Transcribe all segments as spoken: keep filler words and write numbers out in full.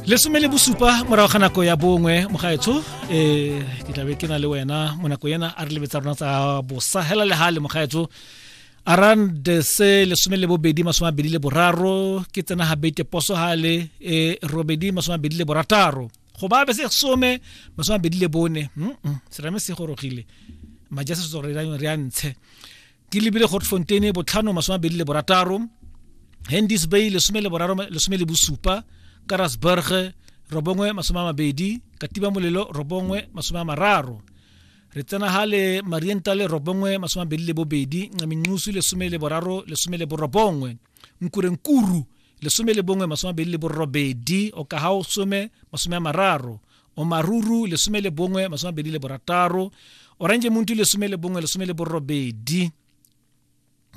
Lesome le bosupa morago ga nako ya bongwe mogaetsho, um ke tlabe ke na le wena mo nako ena a re lebetsa rona tsa bosa hela le gale mogaetsho. Around se lesome le bobedi masome a mabedi le boraro ke tsena ga bete poso gale, um robedi masome a mabedi le borataro go ba be se some masome a mabedi le bone. Serame se gorogile maja se re re a ntshe ke lebile Grootfontein botlhano masome a mabedi le borataro, Henties Bay lesome le boraro lesome le bosupa, Karasburg robongwe masome a mabedi, Katiba Molelo robongwe masome a mararo, re tsena gale Mariental robongwe masome a mabedi le bobedi, Minxusu lesome le boraro lesome le borobongwe, Nkurenkuru lesome le bongwe masome a mabedi le borobedi, Okahao some masome a mararo, Omaruru lesome le bongwe masome a mabedi le borataro, Orange Muntu lesome le bongwe lesome le borobedi,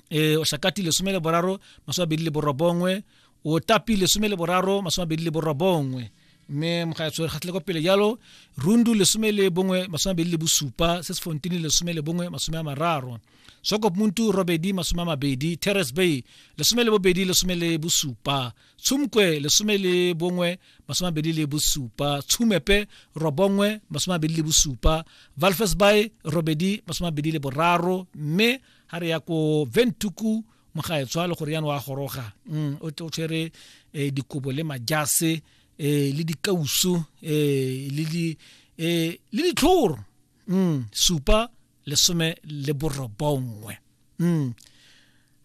eh Oshakati lesome le boraro masome a mabedi le borobongwe, Otapi lesome le boraro masome a mabedi le borobongwe, mme mogaetsho re gatlile kwa pele jalo Rundu lesome le bongwe masome a mabedi le bosupa, Sesfontein lesome le bongwe masome a mararo, Swakopmund robedi masome a mabedi, Terrace Bay lesome le bobedi lesome le bosupa, Tsumkwe lesome le bongwe masome a mabedi le bosupa, Tshumepe robongwe masome a mabedi le bosupa, Walvis Bay robedi masome a mabedi le boraro, mme ha re ya ko Windhoek mogaetsho a le gore yana wa goroga o tshwere dikobo le majase le dikausu le di le ditlhoro supa lesome le borobongwe.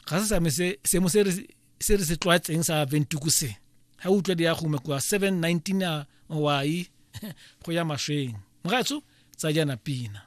Ga se same se seemo se re se re se tlwaetseng sa Windhoek se ga o utlwa di ya gongwe kwa seven nineteen a wai go ya mashweng mogaetsho tsa jana pina.